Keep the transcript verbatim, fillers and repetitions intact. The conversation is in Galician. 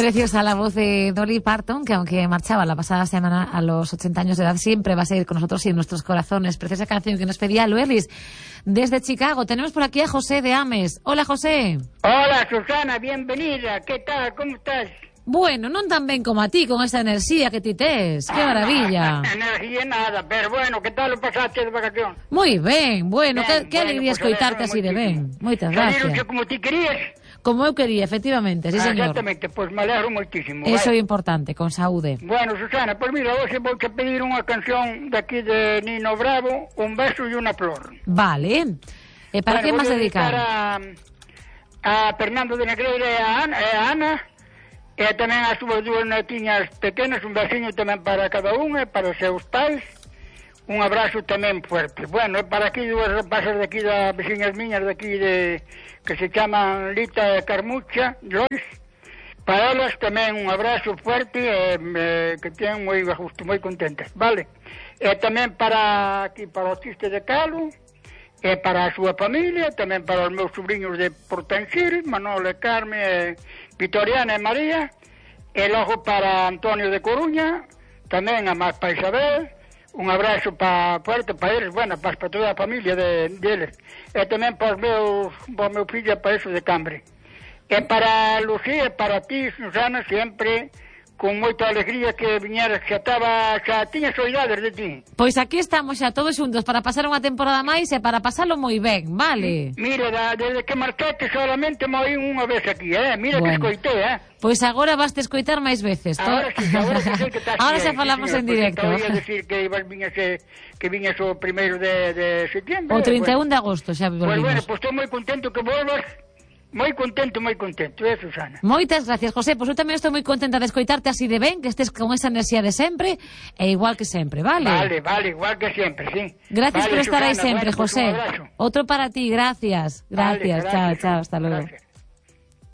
Preciosa la voz de Dolly Parton, que aunque marchaba la pasada semana a los ochenta años de edad, siempre va a seguir con nosotros y en nuestros corazones. Preciosa canción que nos pedía Luelis desde Chicago. Tenemos por aquí a José de Ames. Hola, José. Hola, Susana, bienvenida. ¿Qué tal? ¿Cómo estás? Bueno, non tan ben como a ti, con esa enerxía que ti tes. Que maravilla. Ah, enerxía nada, pero bueno, que tal o pasaste de vacación? Moi ben, bueno, Ben, que, que bueno, alegría pues escoitarte alegro así de ben. moitísimo. Moitas Salironche gracias. como ti querías? Como eu quería, efectivamente, sí, Ah, señor. exactamente, pois pues me alegro moitísimo. Eso é vai. importante, con saúde. Bueno, Susana, pois pues mira, hoxe vou te pedir unha canción de aquí de Nino Bravo, Un beso e unha flor. Vale. E para bueno, que vou máis dedicar? a, a Fernando de Negreira e a Ana, e a Ana e tamén as súas dúas netiñas pequenas, un besiño tamén para cada unha, e para os seus pais. Un abrazo tamén fuerte. Bueno, e para aquí dúas rapazas de aquí, das veciñas miñas de aquí, de, que se chaman Lita e Carmucha, Lois. Para elas tamén un abrazo fuerte, e, e que teñen moi a gusto, moi contentas, vale? E tamén para aquí, para o Chiste de Calo, e para a súa familia, tamén para os meus sobrinhos de Portansir, Manolo e Carme, e Vitoriana e María, e logo para Antonio de Coruña, tamén a máis para Isabel. Un abrazo pa fuerte para eles, bueno, para, para toda a familia de, deles. E tamén para os meus, para o meu fillo, para eso de Cambre. E para Lucía, e para ti, Susana, sempre con moita alegría que viñeras, que xa estaba, xa tiña soidades de ti. Pois aquí estamos xa todos xuntos para pasar unha temporada máis e para pasalo moi ben, vale? Mira, da, desde que marchaste solamente me oí unha vez aquí, eh? Mira Bueno. que escoitei, eh? Pois agora vas te escoitar máis veces. Ahora sí, ahora que sei que estás Ahora aí, xa falamos sí, en señor, directo. porque te oía decir que ibas viñas, eh, que viñas o primeiro de, de septiembre. O trinta e un bueno. de agosto xa Pues bueno, volvimos. pues estou moi contento que volvas. Moi contento, moi contento, eh, Susana? Moitas gracias, José. Pois eu tamén estou moi contenta de escoitarte así de ben, que estés con esa enerxía de sempre e igual que sempre, vale? Vale, vale, igual que sempre, sí. Gracias vale, por estar aí Susana, sempre, bueno, pues José. un abrazo. Outro para ti, gracias. Gracias, Vale, chao, gracias, chao, hasta luego. gracias.